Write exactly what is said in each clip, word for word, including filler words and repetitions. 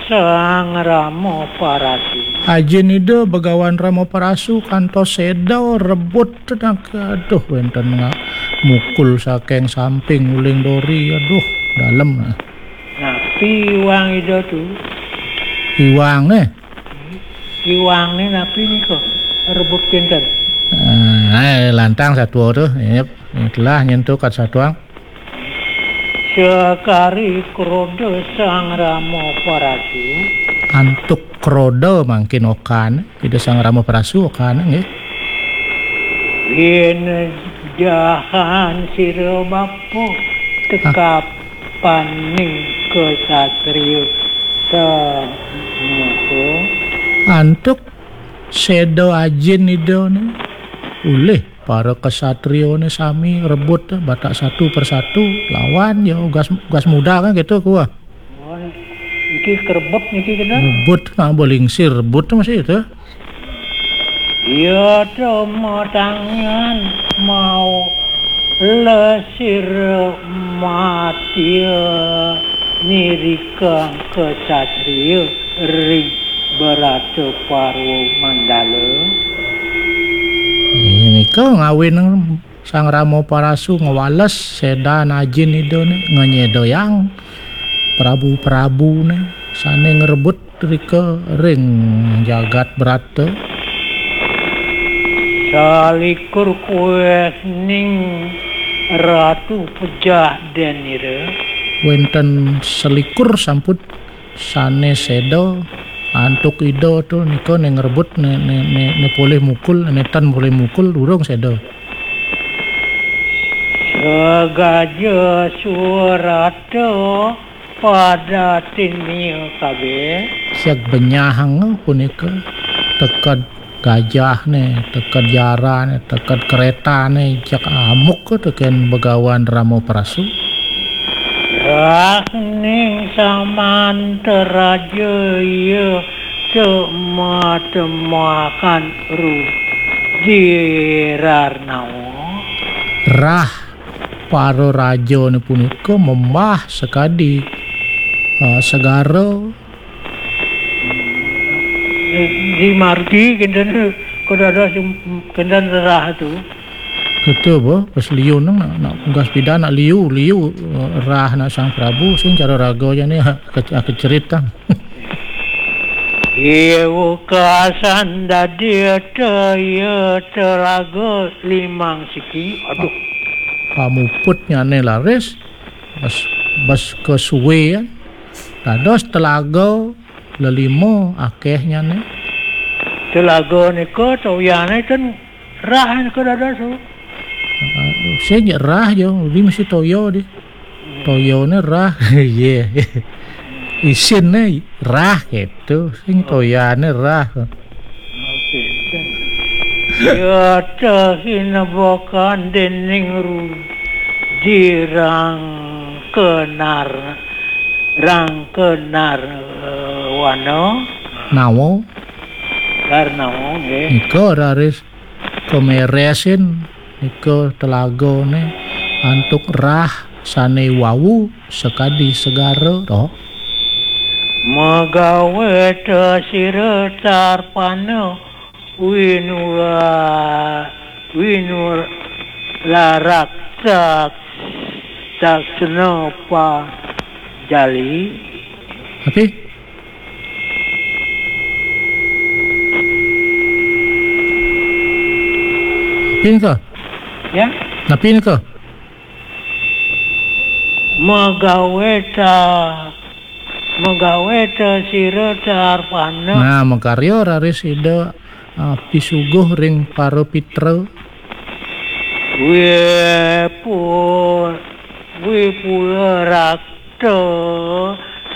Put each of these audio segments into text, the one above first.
Sang Rama Parasu. Ajin Ida Begawan Rama Parasu kantos seda rebut tenaga. Aduh, wenten nga-, mukul saking samping uling dori. Aduh, dalem. Napi iwang Ida tu? Iwang, eh? Iwang ni napi nika? Rebut kinten. Eh, lantang satua tu. Yep. Itulah nyentuk kat satuang. Sekari kroda Sang Rama Parasu. Antuk kroda mangkin okan, Ida Sang Rama Parasu okan, nggih. Yen jahan sira bapa tekapaning kesatria samuka. Antuk seda ajin Ida ni. Ulih para kesatriane sami rebut, eh, batak satu persatu lawan ya ugas, ugas muda kan gitu kuah. Oh, iki kerebut niki kena. Rebut nak belingsir rebut tu masih itu. Ya, temu tangan mau lesir matia nirikang kesatria ring Berata Parwa Mandala. Eh, nika ngawin Sang Rama Parasu ngwales sedan ajin Ida ni, ngenyedayang prabu-prabune sane ngrebut rika ring jagat Brata. Salikur kuehning Ratu pejah denira. Wenten selikur sampun sane seda antuk Ida tu nika ne ngrebut ne, ne, ne, ne polih mukul, ne tan polih mukul durung seda. Segaja suarata padatin miya kabeh. Siag benyahang punika teked gajahne, teked jarane, teked keretane, jak amuk teken Begawan Rama Prasu. Rahning samantaraja iya tematemakan rudirarnawa. Rah para rajane punika membah sekadi, eh, segara. Di margi kenten kada ada sem-, kenten rah tu. Kita apa? Pas liu nang nak, nak gas pida nak liu, liu, eh, rah nak Sang Prabu, sing cara raga aja ni, ke-, kecerit kan. Iya, wekasan dadi te-, iya telaga limang siki. Aduh. Pamuputnyane laris, bas, bas kesuwe, ya. Dados telaga lelima akehnyane. Telaga nika toyane ten rah nika dados, oh. Ah, sing rah ya, udi mesti toya di. Toyane rah, iya. Isinne rah gitu, sing toyane rah. Oke. Ya, tahinebakan dening Rudi Rangkenar, Rangkenar, eh, Wana. Nawa. Garnawa, nggih. Nika raris kameresin nika telagane antuk rah sane wau sakadi segara, to. Magawe ta sira tarpana winula-, winularak tak-, taksena pajali. Tapi? Napi nika? Ya? Napi nika? Magawe ta-, magawe ta sira tarpana. Nah, makarya raris Ida, ah, pisuguh ring para pitra. Wipu-, wipula rakta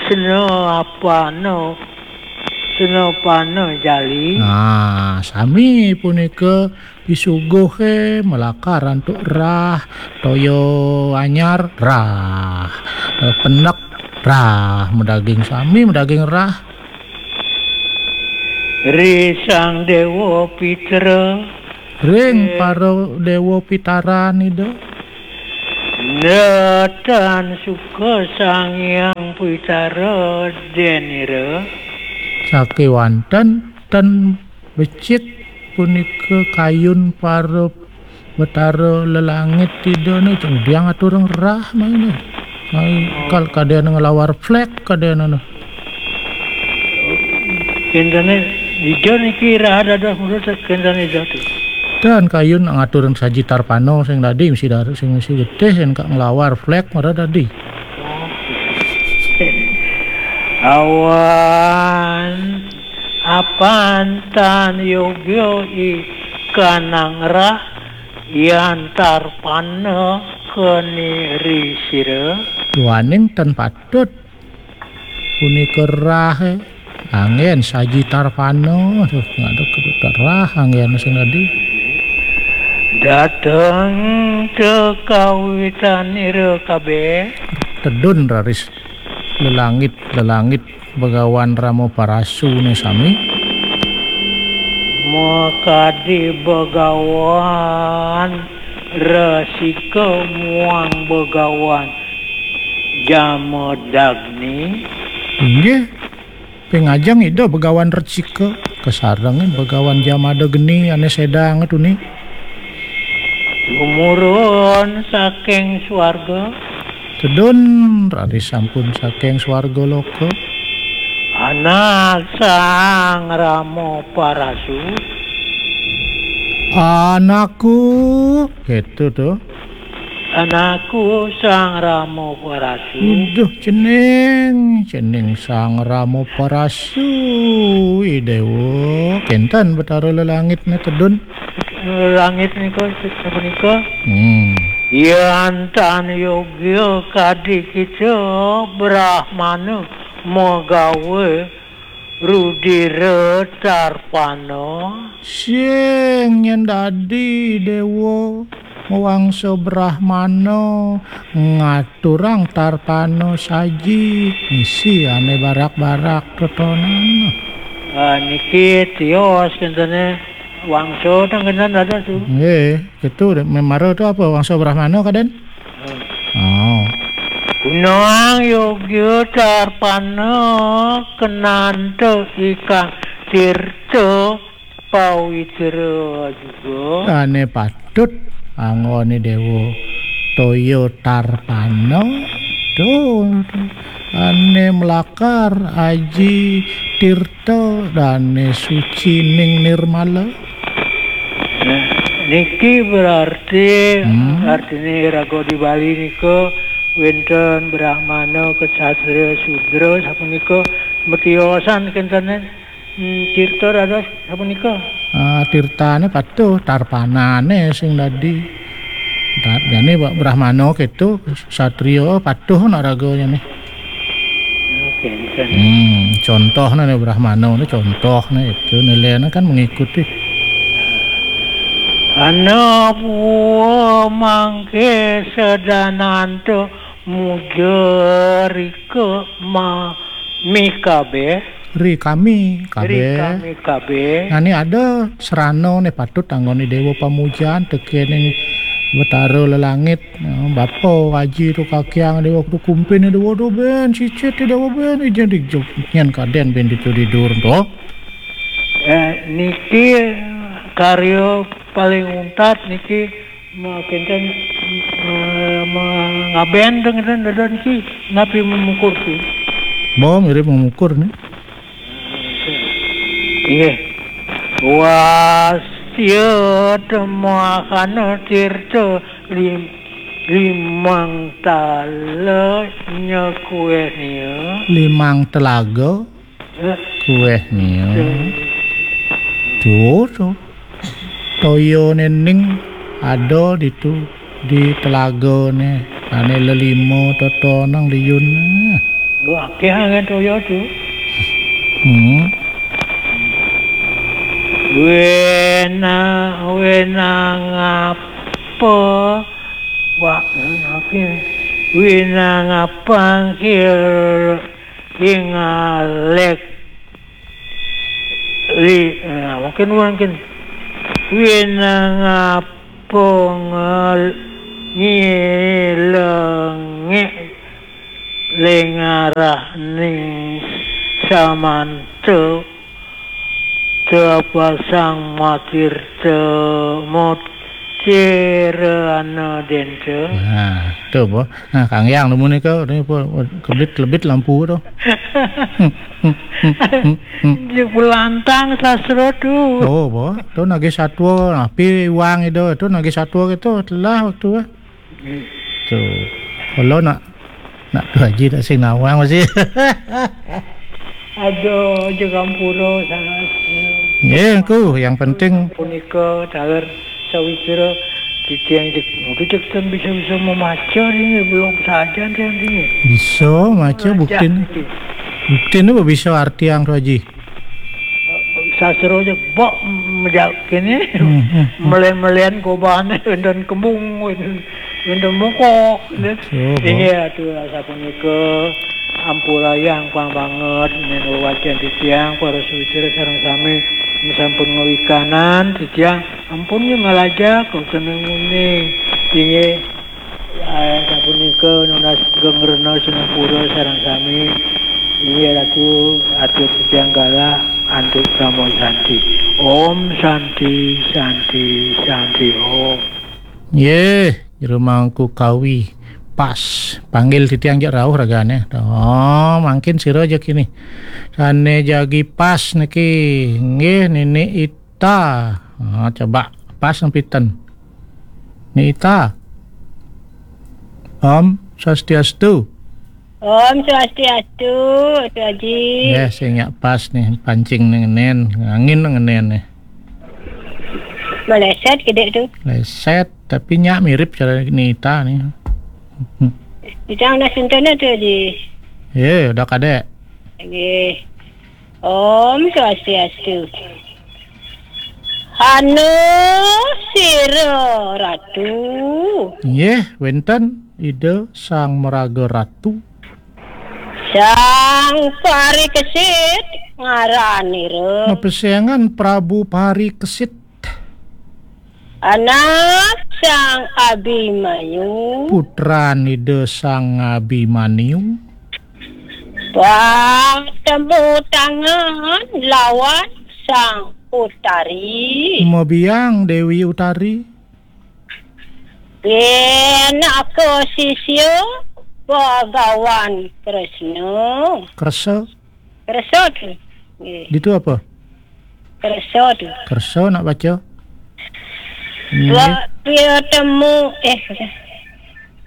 sena apana, sena pana jali. Nah, sami punika pisuguhe malakar antuk rah, toya anyar, rah, eh, penek, rah, madaging sami, madaging rah. Ri Sang Dewa Pitra. Ring, eh, para dewa pitaran Ida. Netan suka Sang Hyang Pitara denira. Sakéwanten ten becik punika kayun para Betara Lelangit Ida né, cang diang aturang rah maina. Mai kal kadéna nglawar flék kadéna né. Kéntené Ida niki rah dados murid kéntené Ida tu. Dan kayun ngaturang saji tarpana sing dadi misi dar-, sing misi getih, sing ka nglawar flék mara dadi. Awan apan tan yogya ikanang rah yan tarpana keni ri sira. Duaning tan patut punika rah, eh. Anggén saji tarpana, tuh, ngadeg kerah anggén sing dadi. Dateng tekawitanira kabéh. Tedun raris lelangit, lelangit Begawan Rama Parasuné sami. Makadi Begawan Resika muang Begawan Jamadagni. Inggih, ping ajeng Ida Begawan Resika kasarengin Begawan Jamadagni ané sédang tuni. Tumurun saking swarga. Tedun raris sampun saking swarga loka. Anak Sang Rama Parasu. Anakku, gitu tuh. Anakku Sang Rama Parasu. Duh, cening, cening Sang Rama Parasu, I Déwa. Kénten Betara Lelangitné tedun. Langit nika, sapunika. Hmm. Yan tan yogya kadi kita Brahmana magawa rudira tarpana. Sing nyén dadi Déwa mawangsa Brahmana ngaturang tarpana saji, misi ané barak-barak totonan. Ah, niki tios kéntené wangsa teng kénten dados tu. Nggih, gitu. Memara tu apa wangsa Brahmana kadén? Oh. Gunang yogya tarpana kenanta ikang tirta pawitra juga. Ané patut anggoné Déwa toya tarpana. Tuh, ané melakar aji tirta dané suci ning nirmala. Nah, niki berarti Hmm. artiné raga di Bali nika wénten Brahmana, Ksatria, Sudra, sapunika matiosan kénten, hmm, tirta dados sapunika. Ah, tirtané patuh, tarpanané sing dadi. Ta-, jane Brahmana kéto, satria patuh nak ragane. Oke, bisa. Hmm, contohnya nih Brahmana nih, contohnya itu nilainya kan mengikuti. Ana puwa mangke sedananto muja rika ma-, mi kabeh. Ri kami kabeh. Ri kami kabeh. Nah, ini ada serana nih patut anggone dewa pamujan tekening Betara Lelangit. Nah, bapa aji tu kakiang dewa tu kumpin dewa tu ben cicit dewa ben ijen dijok nyen kaden ben ditu didur tu. Eh, niki karya paling untat niki ma-, kinten, eh, ma-, ngaben teng kinten dada niki napi memukur tu. Bo mirip memukur nih. Inggih. Wasya temahana tirta lim-, limang tala nyekueh nia. Limang telaga. Eh. Kueh nia. Eh. Tuh, tuh. Toya nening ada ditu di telagane. Ane lelima totonang liun. Lu akeh angen toya tu. Hmm. Wena, wena ngapa? Wah, akeh. Wena ngapa kir ingalek. Li, nah, mungkin, mungkin. Wena ngapa ngal-, Nyilengik ling arahning samanta tepasang matirta mutiranadenta. Nah, to apa? Nah, Kang Yang nemu nika, ini apa? Kebit-kebit lampu to. Jelantang sastra tu. Oh, apa? To nagih satwa, napi iwang ida, to nagih satwa gitu, telah waktu, eh. Tuh. Kalau nak, nak tu haji tak sing nawang masih. Aduh, jaga ampura sangat. Ya, aku yang penting punika taler sawitra titiang cek, mungkin cek ten bisa-bisa memaca ini, belum saja dia ini. Bisa maca bukti ini. Bukti ini bisa arti yang tu haji. Sastra aja bok mejak kene. Hmm, hmm, hmm. Melen-melen kobane wenten kembung, wenten, wenten mokok. Coba. Inggih atuh sapunika ampurayang pang banget menawi wacen titiang para sawitra sareng sami sampun ngawikanan titiang ampun nggih ngalajak kok kena nguning. Inggih. Ah, sapunika nunas gengrena sinepura sareng sami. Inggih Ratu, atur titiang galah antuk Parama Santi. Om Santi, Santi, Santi Om. Nggih, Jero Mangku Kawi. Pas. Panggil titiang jak rauh ragane. Oh, mangkin sira jak ini. Sane jagi pas niki. Nggih, Nini Ita. Ah, coba pas nempitan. Nita. Om Swastiastu. Om Swastiastu, Atu Aji. Ya, sing nyak pas nih, pancing nih ngenen, angin nih ngenen nih. Meleset gede tu. Leset, tapi nyak mirip cara Nita nih. Kita udah sentana tu, Aji. Ya, udah kadek. Nggih. Om Swastiastu. Hana sira Ratu. Nggih, wenten Ida Sang Maraga Ratu. Sang Parikesit ngaranira. Mapesengan Prabu Parikesit. Anak Sang Abimanyu. Putran Ida Sang Abimanyu. Patemu tangan lawan Sang Utari. Mabiang Dewi Utari. Pinaka sisya Bagawan Kresna. Kresa. Kersa tu. Nggih. Ditu apa? Kersa tu. Kersa nak baca. Nggih. Wa-, dia temu, eh,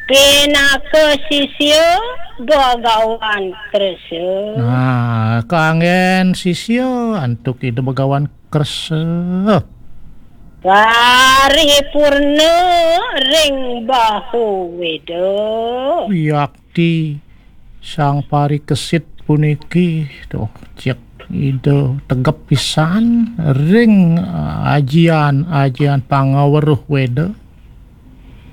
pinaka sisya Bagawan Kersa. Nah, kanggen sisya antuk Ida Bagawan Kersa. Paripurna ring bahu Weda. Wiakti Sang Parikesit puniki, tuh, cek Ida tegep pisan ring, eh, ajian-ajian pangaweruh Weda.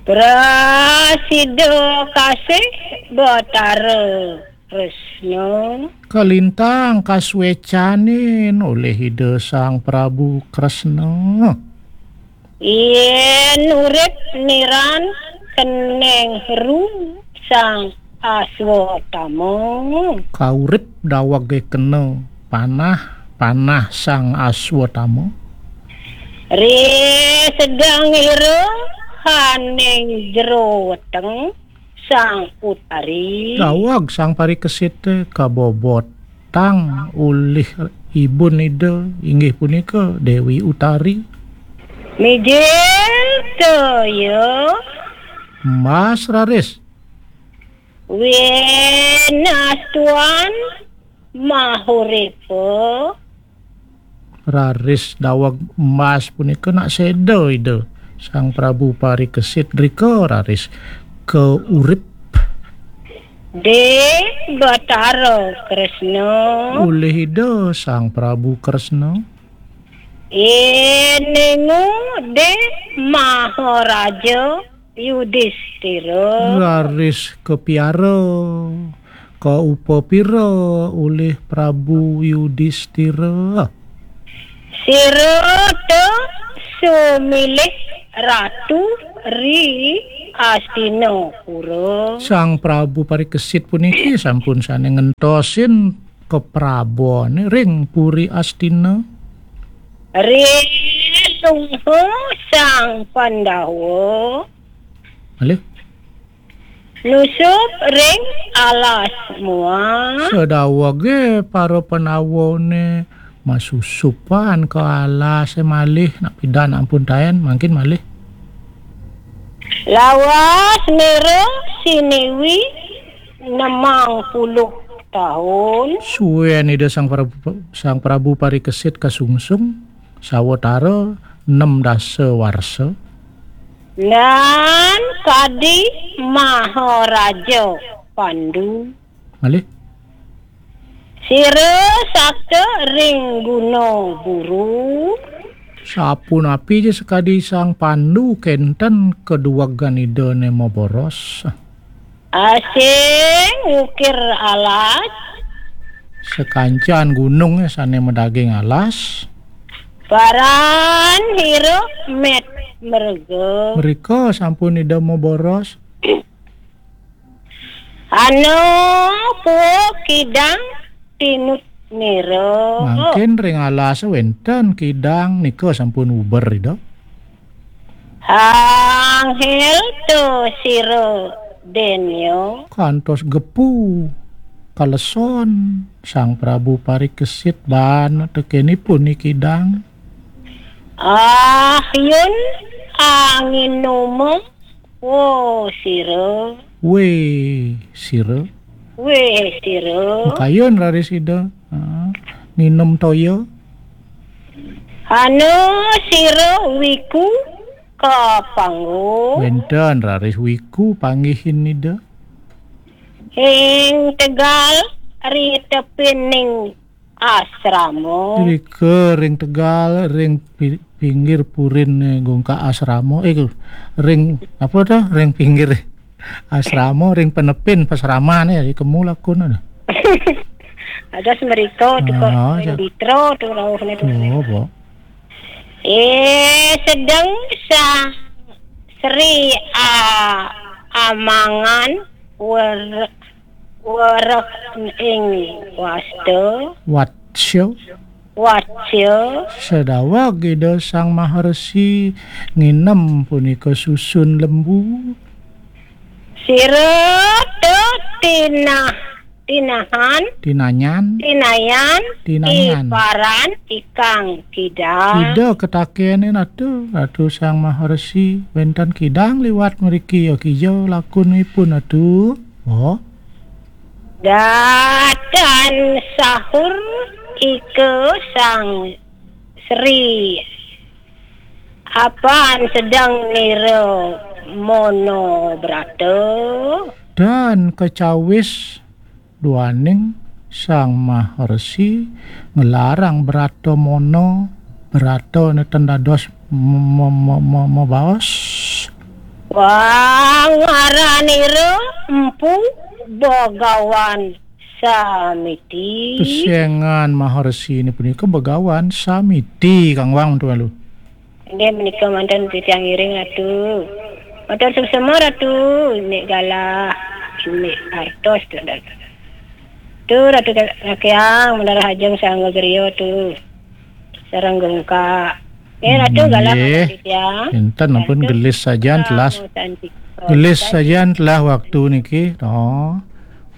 Prasida kasih Batara Kresna. Kalintang kaswecanin olih Ida Sang Prabu Kresna. Yen urip niran keneng ru Sang Aswatama. Kaurip dawege kena panah, panah Sang Aswatama. Ri sedang ira haning jero weteng Sang Utari. Daweg Sang Parikesit kabobotang ulih ibun Ida, inggih punika Dewi Utari. Mijil toya. Mas raris. Winastuan mahuripa. Raris daweg embas punika nak seda Ida Sang Prabu Parikesit rika raris kaurip. De Batara Kresna. Ulih Ida Sang Prabu Kresna. Eningu de Maharaja Yudistira. Raris kapiara, kaupapira ulih Prabu Yudistira. Sira ta sumilih ratu ri Astina pura. Sang Prabu Parikesit puniki sampun sane ngentosin kaprabone ring Puri Astina. Rilungha Sang Pandawa. Malih? Nusup ring alas muang. Sadawege para Pandawane masusupan ka alase malih, nak pidan ampun taen, mangkin malih. Lawas nira siniwi nemang puluh taun. Suwen Ida Sang Prabu, Sang Prabu Parikesit kasungsung sawatara nem dasa warsa. Nan kadi Maharaja Pandu. Malih? Sira sakta ring Guna Buru. Sapunapi ja sakadi Sang Pandu kenten kaduwegan Idane maboros. Asing ngukir alas. Sakancan gunung sane madaging alas. Paran hira met merga. Mrika sampun Ida maboros. Ana puak kidang tinut nira. Mangkin ring alas wenten kidang nika sampun uber Ida. Anghel to sira denya. Kantos gepu kaleson Sang Prabu Parikesit baan tekenipun ni kidang. Ah, yun anginuma. Wo sira. We sira. We sira. Makayun raris Ida. Ha, nginum toya. Ana sira wiku ka panggung. Wenten raris wiku panggihin Ida. Ing tegal ri tepining asrama. Rika ring tegal, ring pi-, pinggir purin, eh, gungka asrama. Eh, ring apa to? Ring pinggir asrama, ring penepin pasramane, eh, kemu lakun ada. Ada semerika tu kok, ah, ring ya. Ditro tu rauhne tu. Oh, apa? Eh, sedang sa Sri A-, Amangan wer-, wereh ing wasta. Watsya. Watsya. Sadaweg Ida Sang Maharsi nginem punika susun lembu. Sira tetinah Tinahan. Tinanyan. Tinayan. Tinanyan. Iparan ikang kidang. Ida katakenin Ratu, Ratu Sang Maharsi, wenten kidang liwat mriki, ya kija lakunipun Ratu? Oh. Datan sahur ika Sang Sri. Apan sedeng nira mono brata. Dan kecawis duaning Sang Maharsi nglarang brata mono, brata neten dados me-, me-, me-, me-, mabaos. Wang aranira Empu Begawan Samiti. Pesengan Maharsi ini punika Begawan Samiti, Kang Wang, tuan lu. Inggih menika manten titiang ngiring Ratu. Matur suksema Ratu, Nik Galah, Nik Artos, tu, Ratu. Tu Ratu Rakyang, Menara Hajeng Sangga Gerio tu. Sareng Gungka. Eh, Ratu Galah, nggih. Manten titiang. Enten ampun. Ratu gelis sajan telah. Ratu Santika. Gelis sajan telah waktu niki. Oh.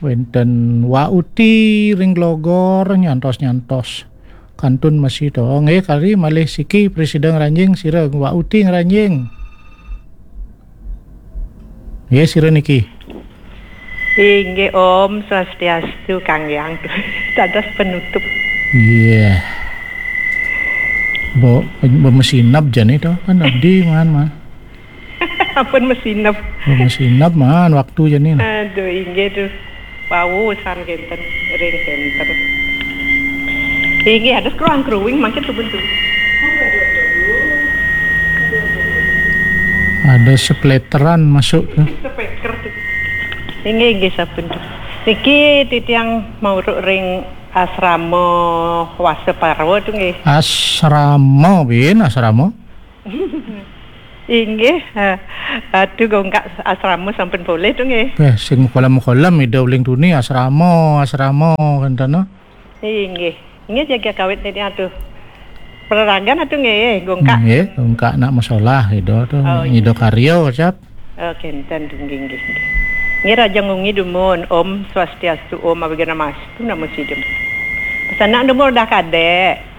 Wenten Wa Uti ring Glogor nyantos-nyantos. Kantun masih to. Nggih, kari malih siki prasida ngranjing, sira Wa Uti ngranjing. Nggih, sira niki. Inggih, Om Swastiastu, Kang Yang. Dados penutup. Iya. Bo, bo mesinap jani to, kan abdi man, man. Ampun mesinep. Oh, mesinep man waktu jani. Aduh, inggih tuh. Wau san kenten, ring kenten. Inggih, ada keruang-keruing mangkin tuh bentuk. Ada sepleteran masuk tuh. Speaker tuh. Inggih, inggih, sampun tuh. Niki titiang mauruk ring asrama Wasa Parwa tuh, nggih. Asrama, bin, asrama? Inggih, eh, Atu Gongkak asrama sampun polih tu nggih. Beh, sing mukolam-mukolam ida uling tuni asrama, asrama kenten no. Inggih. Inggih jaga kawit niki Atu. Peraragan Atu nggih, Gongkak. Nggih, Gongkak nak masalah ida tu. Oh, ida inggih. Karya, Cap. Oh, kenten tu nggih, nggih, nggih. Nggih Raja Ngungi dumun, Om Swastiastu, Om Awighnamastu, Namo Sidam. Pesanan dumun dah kadek.